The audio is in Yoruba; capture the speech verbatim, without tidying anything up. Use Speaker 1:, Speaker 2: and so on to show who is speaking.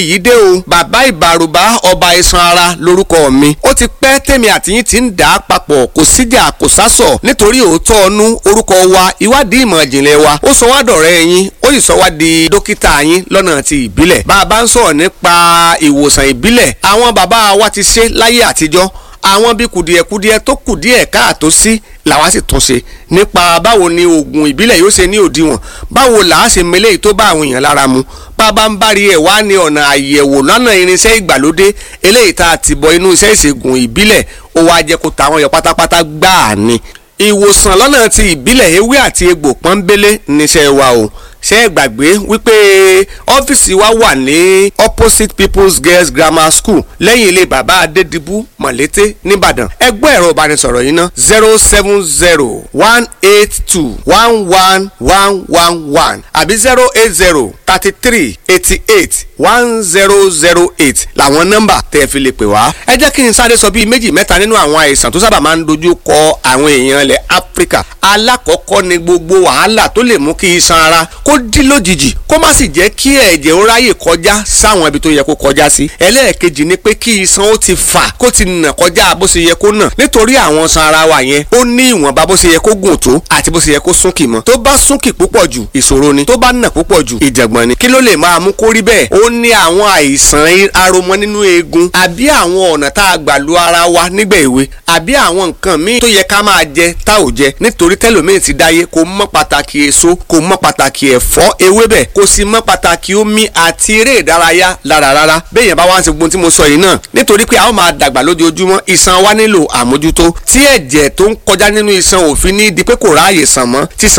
Speaker 1: Yìí dé o, bàbá ìbàrùbá, ọba iṣan ara lórúkọ mi. Ó ti pẹ́ tèmi àtìyín ti ń dà á papọ̀, kò síjà kò sásọ̀, nítorí òótọ́ ọnú orúkọ wa, ìwádìí ìmọ̀ ìjìnlẹ̀ wa, ó sọ wá dọ̀rẹ́ yín, ó sì sọ wá di dókítà yín lọ́nà ti ìbílẹ̀. Bá a bá ń sọ̀rọ̀ nípa ìwòsàn ìbílẹ̀, àwọn bàbá wa ti ṣe láyé àtijọ́. Àwọn bíi kùdìẹ̀kudiẹ tó kù díẹ̀ káàtó sí làwa sì tún ṣe nípa báwo ni oògùn ìbílẹ̀ yóò ṣe ní òdiwọ̀n, báwo là á ṣe mele tó bá àwọn èèyàn lára mu. Bàbá ń bárí ẹ̀ wá ní ọ̀nà àyẹ̀wò lọ́nà irinṣẹ́ ìgbàlódé eléyìí tá a ti bọ inú iṣẹ́ ìṣègùn ìbílẹ̀, ó wá jẹ́ kó tàwọn yọ pátápátá gbáà ni. Ìwòsàn lọ́nà ti ìbílẹ̀, ewé àti egbò pọ́nbélé níṣẹ́ wa o. Ṣé ẹ gbàgbé wípé ọ́fíìsì wa wà ní opposite People's Girls Grammar School, lẹ́yìn ilé bàbá Adédìbú, Mọ̀lété nìbàdàn? Ẹ gbọ́ ẹ̀rọ ìbánisọ̀rọ̀ yìí ná: zero seven zero one eight two one one one one one àbí zero eight zero thirty three eighty eight one zero zero eight làwọn nọ́mbà tẹ́ ẹ fi lè pè wá. Ẹ jẹ́ kí n sáré sọ bíi méjì mẹ́ta nínú àwọn àìsàn tó sábà máa ń dojú kọ àwọn èèyàn ilẹ̀ Áfíríkà. Alákọ̀ọ́kọ́ ni gbogbo wàhálà tó lè mú kí iṣan ara kó dí lójijì, kó má sì jẹ́ kí ẹ̀jẹ̀ ó ráyè kọjá sáwọn ibi tó yẹ kó kọjá sí. Ẹlẹ́ẹ̀kejì ni pé kí iṣan ó ti fà, kó ti nà kọjá bó ṣe yẹ kó nà, nítorí àwọn iṣan ara wa yẹn, ó ní ìwọ̀nba bó ṣe yẹ kó gùn tó àti bó ṣe yẹ kó súnkì mọ́. Tó bá súnkì púpọ̀ jù, ìṣòro ni. Tó bá nà púpọ̀ jù, ìjàngbọ̀n ni. Kí ló lè máa mú kó rí bẹ́ẹ̀? Ó ní àwọn àìsàn aromọ nínú eegun, àbí àwọn ọ̀nà tá a gbà lu ara wa nígbà èwe, àbí àwọn nǹkan míì tó yẹ ká máa jẹ tá ò jẹ, nítorí tẹlòmíì ti dáyé kò mọ̀ pàtàkì èso, kò mọ̀ pàtàkì ẹ̀fọ́, ewébẹ̀, kò sì mọ̀ pàtàkì omi àti eré ìdárayá lára rárá. Béèyàn bá wá ń ṣe gbogbo tí mo sọ yìí náà, nítorí pé a ó máa dàgbà lójoojúmọ́, iṣan wa nílò àmójútó, tí ẹ̀jẹ̀ tó ń kọjá nínú iṣan òfin ní di pé kò ráàyè sàn mọ́ tí iṣan